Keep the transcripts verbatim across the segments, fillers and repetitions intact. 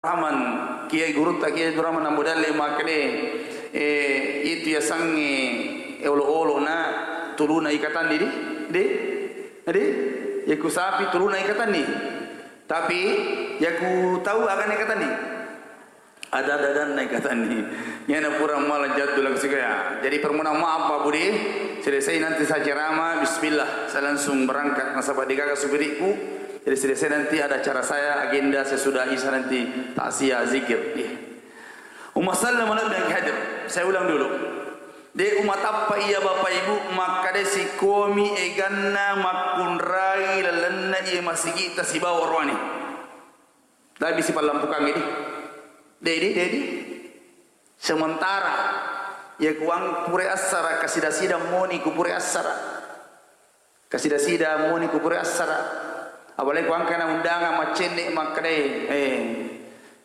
Rahman, Kiai gurutta Kiai Abdurrahman Ambo Dalle makkeda, eh, itu yasengnge olo-olo na tuluna ikatanni di, di, di, yaku sapi tuluna ikatanni. Tapi yaku tau agana ikatanni. Ada-ada dan naik katanni. Yana pura malah jatuh lagi sih ya. Jadi permohonan maaf Pak Budi. Selesai nanti saya ceramah, bismillah, saya langsung berangkat nasaba degaga supirikku. Jadi selesai nanti ada acara saya, agenda saya sudahi, saya nanti takziah, zikir. Iya. Umma sallam ala nabi hadir. Saya ulang dulu. De umma tappa iya Bapak Ibu makkada sikomi eganna makkunrai lalenna iya masigita sibawa roane. Tapi sipallampukangngi di. Dedi, dedi. Sementara iya kuang pure assara, kasida-sida moni ku pure assara. Kasida-sida moni ku pure assara. Apalagi kuang kana undangan maccenne makkedai, eh,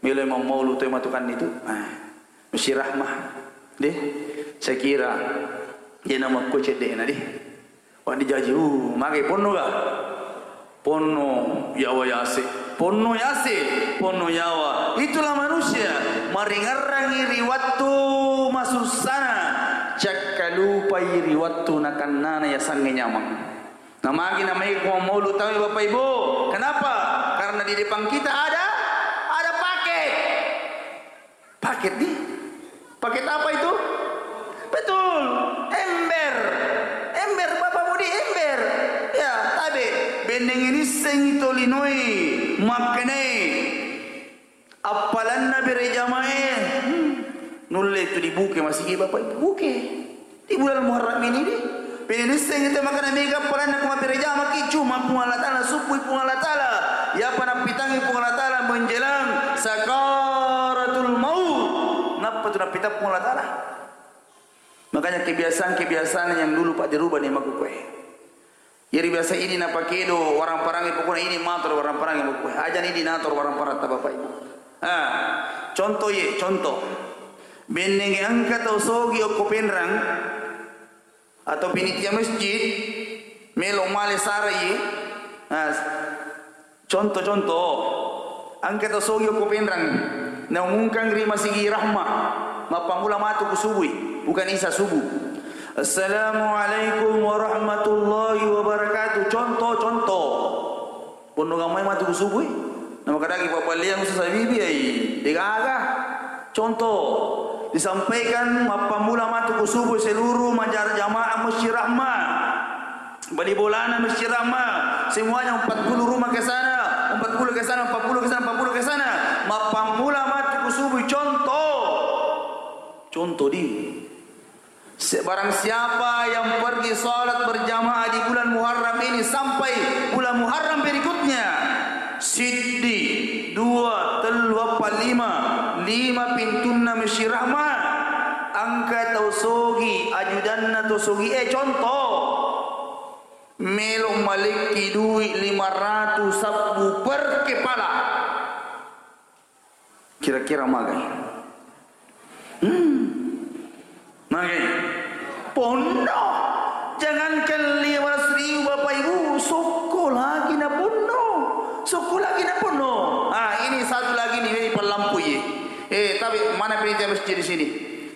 melo mammaulu toi matukanni tu. Ah, mesti rahmah. Deh, saya kira dia nama ku cedde na deh. Wah, dijaji, uh, mage ponno ga? Ponno yawa yase, ponno yase, ponno yawa. Itulah manusia, maringerrangi ri wattu masussana, cakkalupai ri wattu nakannana yasengnge nyameng. Namagi namai ko maulu tawe Bapak Ibu. Kenapa? Karena di depan kita ada, ada paket. Paket di? Paket apa itu? Betul, ember. Ember, Bapak Budi, ember. Ya, tabe. Benneng ini seng itu linoi, makkenai. Appalanna bere jamae. Hmm. Nulle itu dibuke masigi Bapak Ibu. Buke. Di bulan Muharram ini di, penisseng itu makana mega paranna ku mabbere jamaki, cuma Puang Allah Ta'ala, subui Puang Allah Ta'ala. Yapa nappitangi Puang Allah Ta'ala menjelang sakaratul maut. Nappa tu nappitang Puang Allah Ta'ala. Makanya kebiasaan-kebiasaan yang dulu pak dirubah ni makkukkue. Jadi biasa ini napakedo warang parangi pokoknya ini mator warang parangi makkukkue. Aja ini nator warang parang ta Bapak Ibu. Ah, contoh ye, contoh. Bennenge engka tau sogi okko penrang, atau penitia masjid melo male sarai, nah, contoh-contoh, engka tau sogi okko penrang, naumumkang ri masigi Rahma, mappammula matu ku subui, bukan isa subuh. Assalamualaikum warahmatullahi wabarakatuh. Contoh-contoh. Ponno gamai matu ku subui. Namakadaki pabbaliang Ustaz Habibi ai. Degaga. Contoh, disampaikan mappammula matu ku subui seluruh majar jamaah Masjid Rahma. Bali bolana Masjid Rahma, semuanya empat puluh rumah ke sana, empat puluh ke sana, empat puluh ke sana, empat puluh ke sana. Mappammula matu ku subui. Contoh. Contoh di. Se-, barang siapa yang pergi salat berjamaah di bulan Muharram ini sampai bulan Muharram berikutnya, siddi, dua, tellu, eppa, lima, lima pintunna Masjid Rahma, engka tau sogi, ajudanna tau sogi, eh, contoh, melo malekki dui lima ratus sabbu per kepala. Kira-kira magai? Hmm. Magai? Ponno. Jangankan lima ratus ribu Bapak Ibu, sokko lagi na ponno. Sokko lagi na ponno. Ah, ini satu lagi nih, ini pelampui. Eh, tapi mana penitia masjid di sini?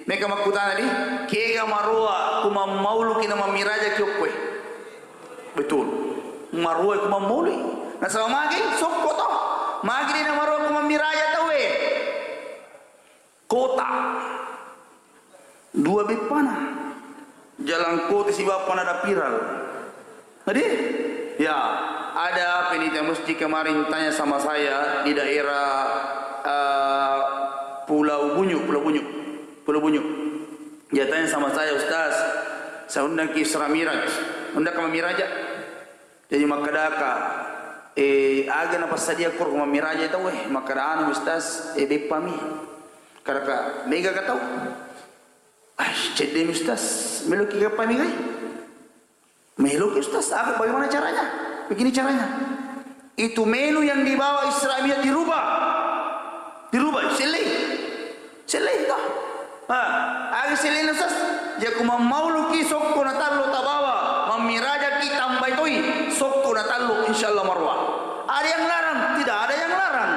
Mereka makkutana di, kega maroa, kumammaulu kina mammiraja kiokkue. Betul. Maruai ku mammaului. Nasaba magi sokko to. Magi de na maruai ku mammiraja tauwe. Kota. Dua beppana. Jalan kota sibawa panada piral. Jadi, ya, ada penitia masjid kemarin tanya sama saya di daerah, eh, Pulau Bunyu, Pulau Bunyu. Pulau Bunyu. Dia tanya sama saya, "Ustaz, saya undang ke Isra Miraj. Undang ke Mamiraja?" Jadi makkadaka, eh, aga napassadia koro Mamiraja tau, eh, makkada anu, Ustaz, eh, beppami. Kadaka, mega ka tau. Ah, cedde Ustaz, meloki beppami kai. Meloki Ustaz, aku bagaimana caranya? Begini caranya. Itu menu yang dibawa Isra Mi'raj dirubah. Dirubah, sellei. Sellei toh. Ha, aga sellei Ustaz? Jaku mammauluki sokko na tallo tabawa, mammirajaki tambai toi sokko na tallo, insyaallah maruwa. Ada yang larang? Tidak ada yang larang.